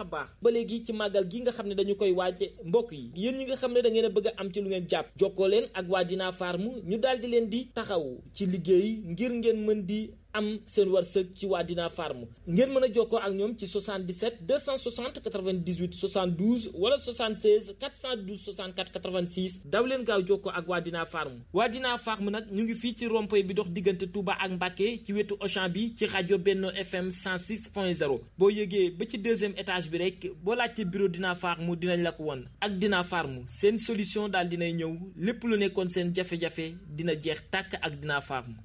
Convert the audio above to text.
baax ba léegi ci màggal gi nga xam ne dañu koy waaje mbokk yi yéen ñi nga xam ne da ngeen a bëgg a am ci lu ngeen jàpp jokkoo leen ak waa Dina Farm ñu daal di leen di taxaw ci liggéey ngir ngeen mën di am seen wërsëg ci waa Dina Farm ngeen mën a jokkoo ak ñoom ci 77 260 98 72 wala 76 412 64 86 daw leen gaaw jokkoo ak waa Dina Farm. waa Dina Farm nag ñu ngi fii ci rond-point bi dox diggante Touba ak Mbacké ci wetu Auchan bi ci rajo Benno FM 106.0 boo yëgee ba ci deuxième étage bi rek boo laajte bureau Dina Farm dinañ la ko won ak Dina Farm seen solution daal dinay ñëw lépp lu nekkoon seen jafe-jafe dina jeex tàkk ak Dina Farm.